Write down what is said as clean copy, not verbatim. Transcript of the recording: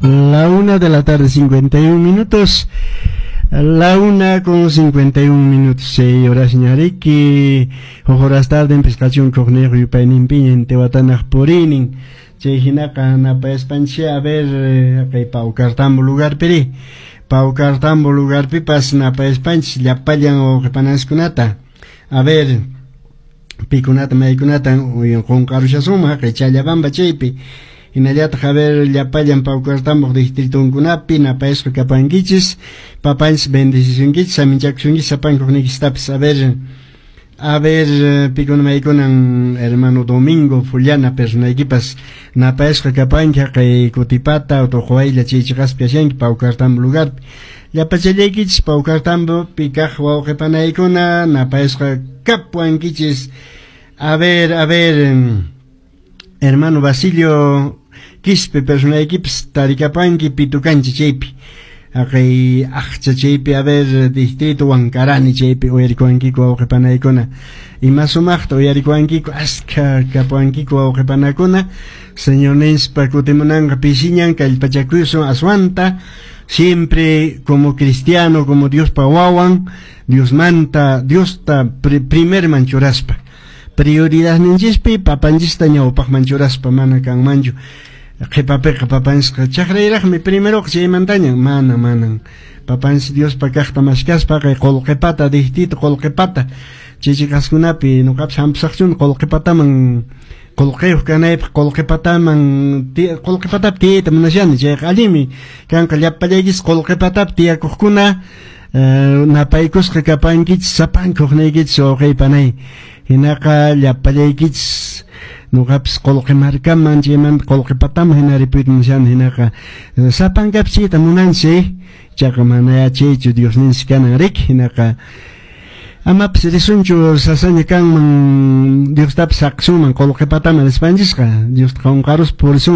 La 1 de la tarde, 51 minutos. La 1:51. Chay horas ñariki. Huk horas tarde pescación cogneo yupayninpiña intiwatanaq purinin. Chay hinaqa napayaspanchik, a ver, kay Paucartambo lugarpiri. Paucartambo lugarpipas napayaspanchik llapallan wawqipanaskunata. A ver, pikunata maykunata qunqarushasunman kay Challabamba chaypi. Hinallataq, a ver, llapallan Paucartambo distritunkunapi napayasqa kapankichis. Papanchis bendecisunkichis, saminchakusunkichis sapankuqnikichistapis. A ver, pikuna maykunan hermano Domingo Fullana personaykipas napayasqa kapanki kay Kutipata Utuqwaylla chay chiqaspi kashanki Paucartambo lugarpi. Llapachallaykichis Paucartambo kaq wawqipanaykuna napayasqa kapuankichis. A ver, hermano Basilio Quispe personaykipas tarikapanki Pitucanchi chaypi. Haqay aqcha chaypi, a ver, distrito Huancarani chaypi uyarikuwankiku wawqipanaykuna. Ima sumaqta uyarikuwankiku, askha kapuwankiku wawqipanakuna. Señorninspa kutimunanqa pisiñan, kallpachakusun aswanta, siempre como cristiano, como Diospa wawan, Diosmanta, Diosta primerman churaspa. Prioridad ninchispi papanchista ñawpaqman churaspa, mana kanmanchu qhipapiqa papanchisqa chakrayraqmi primero chaymantaña, mana, manan. Papanchis Diospa kaqta mashkaspa kay qullqipata distrito qullqipata chichiqaskunapi nuqapas hampisaqchuni qullqipataman qullqiyuq kanaypaq, qullqipataman qullqipatapi tiyayta munashani. Chayqa allinmi kanqa. Llapallaykichis qullqipatapi tiyakuqkuna napaykusqa kapankichis sapankuqniykichis, wawqiypanay. Hinaqa llapallaykichis nuqapis qullqi markaman chaymanta qullqipataman hina ripuyta munashani. Hinaqa sapankapis chayta munanchik, chaqa mana chaychu Diosninchik kanan riki. Hinaqa amapas risunchu, sasaña kanman, Diostapas saqsunman qullqipataman rispanchisqa, Diosta qunqaruspa purisunman.